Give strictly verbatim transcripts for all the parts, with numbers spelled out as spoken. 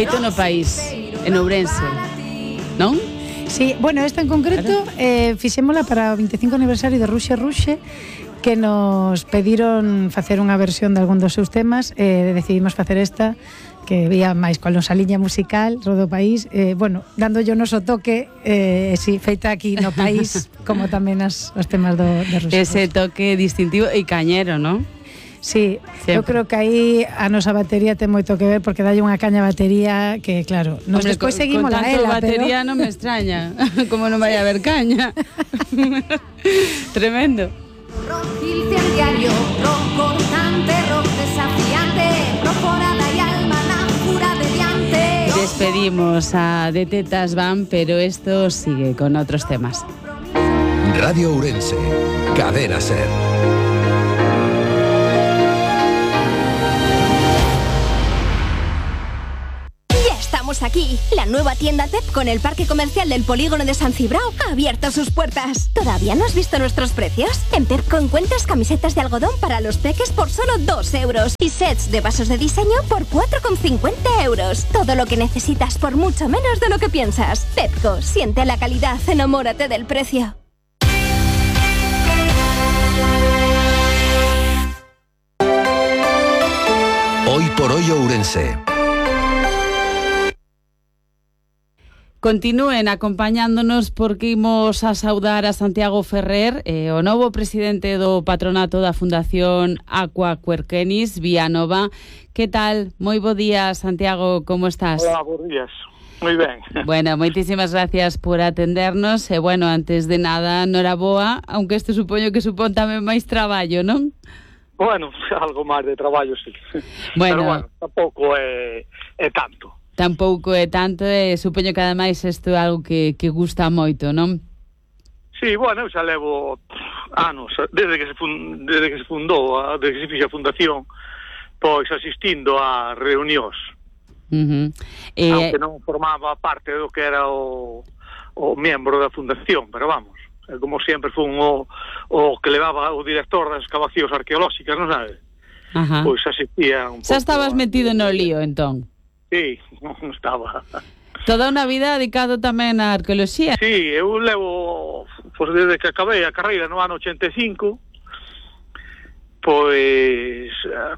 feito no país, en Ourense, non? Sí, bueno, esta en concreto eh, fixémola para o veinticinco aniversario de Ruxe Ruxe, que nos pediron facer unha versión de algún dos seus temas, e eh, decidimos facer esta, que vía máis con nosa liña musical, Rodo País, eh, bueno, dando yo noso toque, eh, si, feita aquí no país, como tamén as, os temas do, de Ruxe. Ese toque distintivo e cañero, non? Sí, sempre. Eu creo que aí a nosa batería ten moito que ver, porque dalle unha caña batería que, claro, nos Hombre, despois con, seguimos con la tanto ela, batería pero... non me extraña. Como non vai a haber caña. Tremendo. Rock incendiario, rock cortante, rock desafiante, rock forada y alma, náufura de diante. Despedimos a De Tetas Van, pero esto sigue con otros temas. Radio Ourense, Cadena Ser. Aquí, la nueva tienda T E P con el parque comercial del polígono de San Cibrao ha abierto sus puertas. ¿Todavía no has visto nuestros precios? En T E P encuentras camisetas de algodón para los peques por solo dos euros y sets de vasos de diseño por cuatro con cincuenta euros. Todo lo que necesitas por mucho menos de lo que piensas. Pepco, siente la calidad, enamórate del precio. Hoy por hoy Ourense. Continúen acompañándonos porque imos a saudar a Santiago Ferrer, eh, o novo presidente do patronato da Fundación Aqua Querquenis, Vía Nova. Que tal? Moi bo día, Santiago, como estás? Hola, bons días. Moi ben. Bueno, moitísimas gracias por atendernos. E, bueno, antes de nada, noraboa, aunque isto supoño que supón tamén máis traballo, non? Bueno, algo máis de traballo, sí. Bueno, pero, bueno, tampouco é, é tanto. Tampouco é tanto, e supoño que ademais isto é algo que, que gusta moito, non? Sí, bueno, eu xa levo anos, desde que se, fund, desde que se fundou, desde que se fixe a fundación, pois asistindo a reunións. Uh-huh. Eh, Aunque non formaba parte do que era o, o membro da fundación, pero vamos, como sempre fun o, o que levaba o director das excavacións arqueolóxicas, non sabes? Ajá. Pois asistía un pouco. Xa estabas metido no lío, entón? Sí, non estaba. Toda unha vida dedicado tamén á arqueoloxía. Sí, eu levo, pois desde que acabei a carreira no ano ochenta e cinco, pois,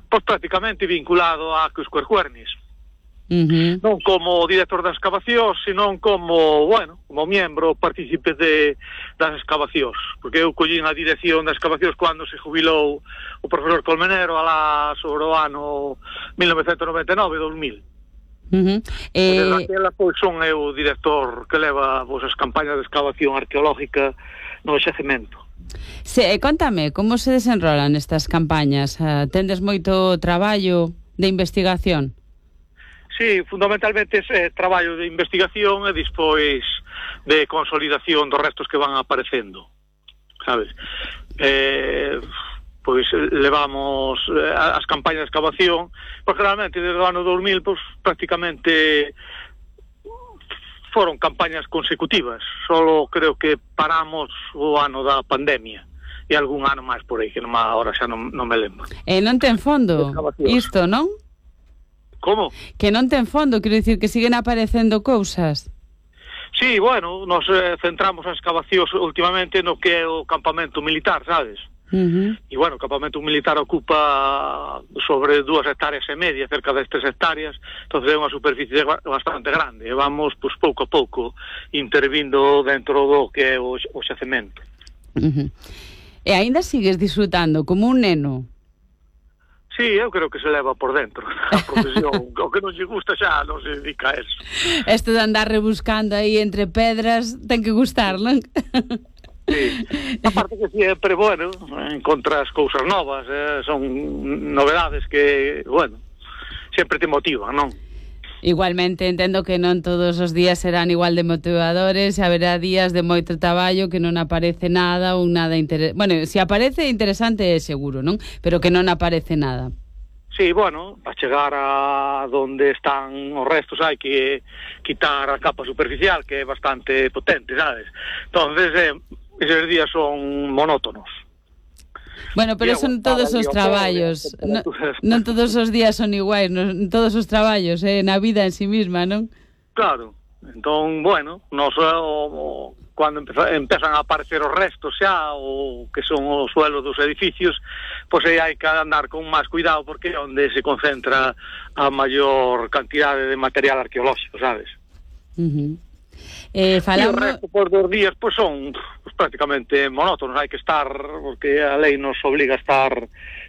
pois prácticamente vinculado a Aquas Querquenis. Uh-huh. Non como director das excavacións, senón como, bueno, como miembro, partícipe de, das excavacións, porque eu collín a dirección das excavacións cando se jubilou o profesor Colmenero alá sobre o ano mil novecentos noventa e nove, dos mil. Uh-huh. Eh... Desde aquela, pois, son eu o director que leva pois, as campañas de excavación arqueológica no xacemento. Se, contame, como se desenrolan estas campañas? Uh, tendes moito traballo de investigación? Sí, fundamentalmente é traballo de investigación e despois de consolidación dos restos que van aparecendo, sabes? Eh... pois levamos as campañas de excavación, pois realmente desde o ano dos mil, pois prácticamente foron campañas consecutivas, solo creo que paramos o ano da pandemia e algún ano máis por aí, que non, ahora xa non, non me lembro. E non ten fondo isto, non? Como? Que non ten fondo, quero dicir que siguen aparecendo cousas. Sí, bueno, nos eh, centramos as excavacións últimamente no que é o campamento militar, sabes? Uh-huh. E, bueno, o campamento militar ocupa sobre dúas hectáreas e media, cerca das tres hectáreas, entonces é unha superficie bastante grande, e vamos, pois, pouco a pouco, intervindo dentro do que é o, o xacemento. Uh-huh. E aínda sigues disfrutando como un neno? Sí, eu creo que se leva por dentro a profesión, o que non lle gusta xa non se dedica a eso. Isto de andar rebuscando aí entre pedras ten que gustar, non? Sí. Aparte que sempre, bueno, encontras cousas novas, eh, son novedades que, bueno, sempre te motivan, non? Igualmente entendo que non todos os días serán igual de motivadores, haberá días de moito traballo que non aparece nada ou nada interesante. Bueno, se aparece interesante é seguro, non? Pero que non aparece nada. Sí, bueno, para chegar a donde están os restos hai que quitar a capa superficial, que é bastante potente, sabes? Entonces, eh, esos días son monótonos. Bueno, pero son todos os traballos. Non, non todos os días son iguais, non todos os traballos, eh, na vida en sí misma, non? Claro. Entón, bueno, nos, o, o, cando empeza, empezan a aparecer os restos xa, o que son os suelos dos edificios, pois aí hai que andar con máis cuidado, porque é onde se concentra a maior cantidade de material arqueolóxico, sabes? Uh-huh. Eh, falando... E o resto por dos días pois son pues, prácticamente monótonos, hai que estar, porque a lei nos obliga a estar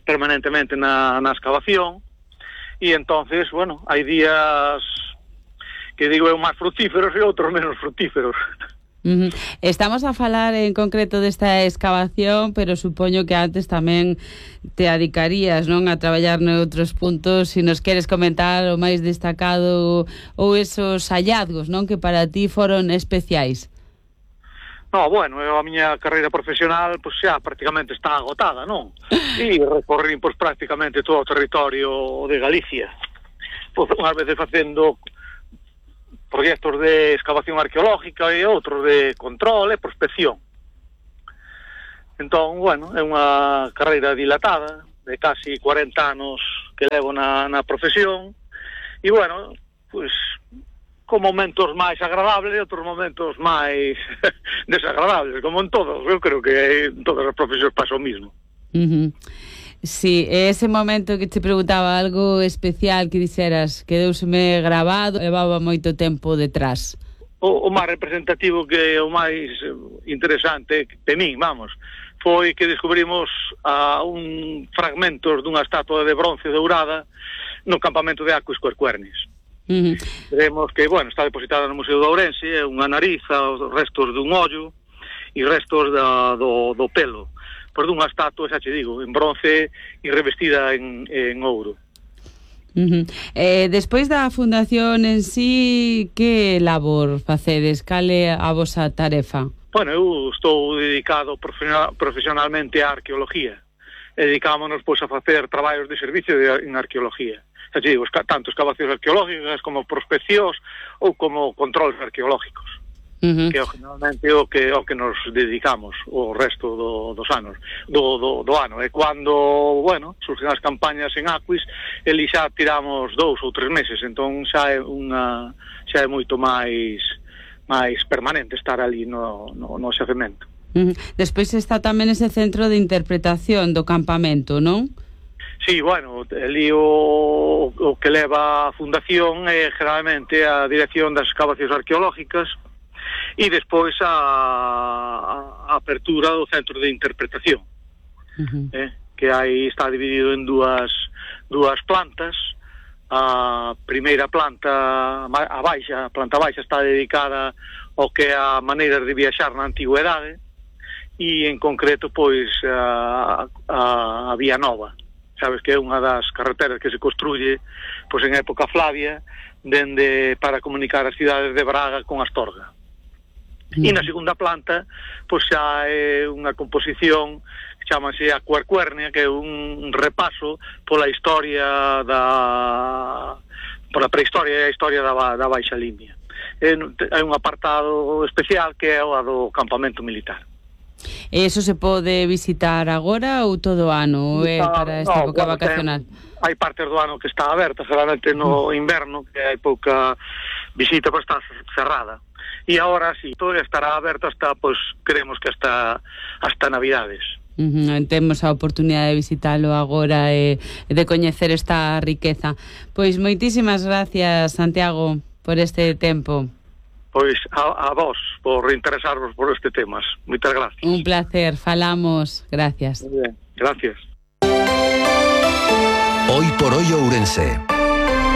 permanentemente na, na excavación, e entonces, bueno, hai días que digo eu máis frutíferos e outros menos frutíferos. Uh-huh. Estamos a falar en concreto desta excavación, pero supoño que antes tamén te adicarías, non, a traballar noutros puntos. Se nos queres comentar o máis destacado ou esos hallazgos, non, que para ti foron especiais. No, bueno, eu a miña carreira profesional pois xa prácticamente está agotada, non? E recorrí pois prácticamente todo o territorio de Galicia. Pois unhas veces facendo proxectos de excavación arqueológica e outros de control e prospección. Entón, bueno, é unha carreira dilatada de casi cuarenta anos que levo na, na profesión e, bueno, pois, con momentos máis agradables e outros momentos máis desagradables, como en todos. Eu creo que en todas as profesións pasa o mismo. Uh-huh. Sí, ese momento que te preguntaba algo especial que dixeras, quedouseme grabado, levaba moito tempo detrás. O, o máis representativo, que o máis interesante de mí, vamos, foi que descubrimos a un fragmentos dunha estatua de bronce dourada no campamento de Aquis Quercuernis. Uh-huh. Vemos que, bueno, está depositada no Museo de Ourense, é unha nariz, os restos dun ollo e restos da, do, do pelo, por dunha estatua, xa che digo, en bronce e revestida en, en ouro. Uh-huh. Eh, despois da fundación en sí, que labor facedes? Cal é a vosa tarefa? Bueno, eu estou dedicado profesionalmente á arqueología. Dedicámonos, pois, a facer traballos de servicio de, en arqueología. Xa che digo, tanto excavacións arqueológicas como prospeccións ou como controles arqueológicos. Uh-huh. Que é generalmente o que, o que nos dedicamos o resto do, dos anos do, do, do ano, e cando, bueno, surgen as campañas en Aquis, eli xa tiramos dous ou tres meses, entón xa é unha xa é moito máis máis permanente estar ali no, no, no xacemento. Uh-huh. Despois está tamén ese centro de interpretación do campamento, non? Sí, bueno, ali o, o que leva a fundación é generalmente a dirección das excavacións arqueológicas e despois a, a apertura do centro de interpretación, uh-huh. eh, que aí está dividido en dúas dúas plantas. A primeira planta, a baixa, a planta baixa, está dedicada ao que é a maneiras de viaxar na antigüedade e en concreto pois a, a, a Vía Nova, sabes, que é unha das carreteras que se construye pois en época Flavia dende para comunicar as cidades de Braga con Astorga. E na segunda planta, pois xa é unha composición que chamase a Quercuernia, que é un repaso pola historia da pola prehistoria e a historia da, da Baixa Limia. É, é un apartado especial que é o do campamento militar. E iso se pode visitar agora ou todo o ano? Ou é para esta no, época bueno, vacacional? Ten, hai partes do ano que está aberta, generalmente no inverno, que hai pouca visita, pois está cerrada. E agora sí, todo estará aberto hasta, pois, creemos que hasta hasta Navidades. Uh-huh. Temos a oportunidade de visitalo agora e de coñecer esta riqueza. Pois moitísimas gracias, Santiago, por este tempo. Pois a, a vos por interesarvos por este temas. Moitas gracias. Un placer, falamos. Gracias. Muy bien, gracias. Hoy por hoy Ourense.